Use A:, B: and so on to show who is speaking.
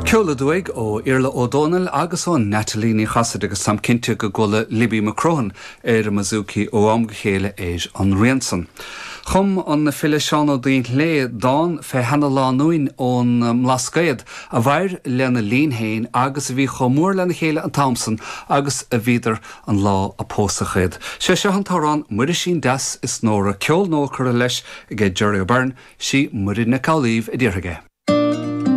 A: Ceol aduaidh ó Iarla Ó Dónaill agus ó Natalie Ní Chasaide agus táim cinnte go gcuala Libby McCrohan ar an mbouzouki ó am go chéile ar an rian san. Chum an file Seán Ó Duinnshléibhe dán fé sheana-lánúin ón mBlascaod a mhair lena linn féin agus a bhí chomh mór lena chéile an t-am san agus a bhíodar an lá a pósadh iad. Sé seo an t-amhrán 'Muirisín Deas is Nóra', ceol nua curtha leis aige Gerry O'Beirne, sí Muireann Nic Amhlaoibh a déarfaidh é.